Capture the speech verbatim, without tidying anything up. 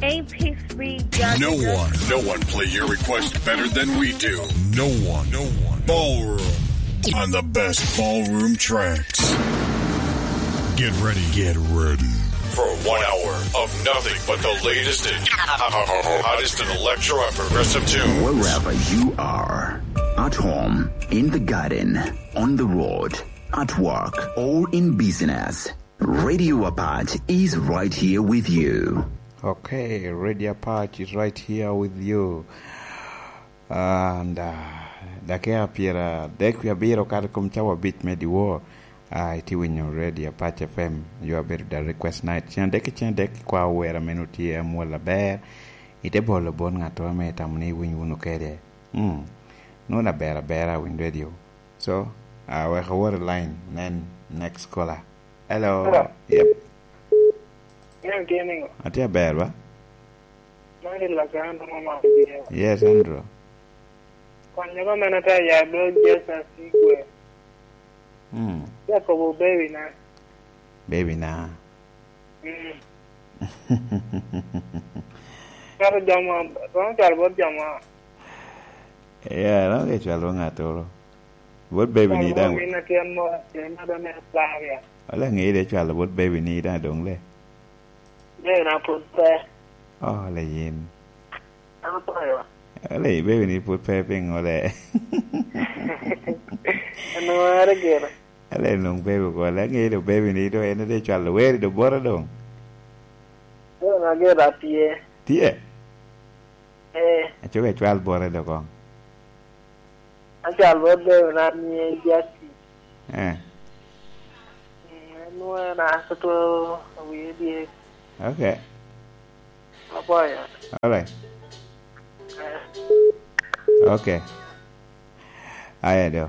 Hey, P three, John. No one, no one play your request better than we do. No one, no one. Ballroom on the best ballroom tracks. Get ready, get ready for one hour of nothing but the latest and hottest in electro and progressive tunes. Wherever you are, at home, in the garden, on the road, at work, or in business, Radio Apache is right here with you. Okay, Radio Apache is right here with you. And, uh, dakika pyeradek wie abiro kato i kom cawa abic me dyewor. Ah, itye winyo Radio Apache F M, yo abedo da request night. Cen adek ki cen adek ikwao wer a meno tye amwol aber. Ite bolo bot ngatto ame itamo ni iwiny wunu kede. Hmm. Nwoŋo aber abera winy radio. So, ah, wek awot i line, nen next caller. Hello. Hello. Yep. Ian tye niŋo? Atye aber, ba? Man i Los Angeles, mama. Yes, Andrew. Kwan nyogo mene te ya bro Jesus Igwe. Hmm. Ya kobo baby na. Baby na. Mm. Calo jama, romo calo bot jama. Yeah, romo ke cwalo ŋattoro. Bot baby ni daŋ. Min atin mo, atin ma done plaria. Wala ŋeyi de cwalo bot baby ni daŋ doŋ le. Baby na pwod pe. Oh, le yin. An apoyo. Wala i baby ni pwod pe piŋo le. Anware gire. Ale nwoŋo baby ko, ale ŋeyi do baby ni do en de cwalo weri do boro doŋ. Doŋ ager atye. Tye? Eh. Acoka icwal boro do koŋ. Acwal boro baby na ni Jackie. Eh. Mm, en nwoŋo en a toto wie dyek. Okay. Apoyo. All right. Eh. Okay. Aya do.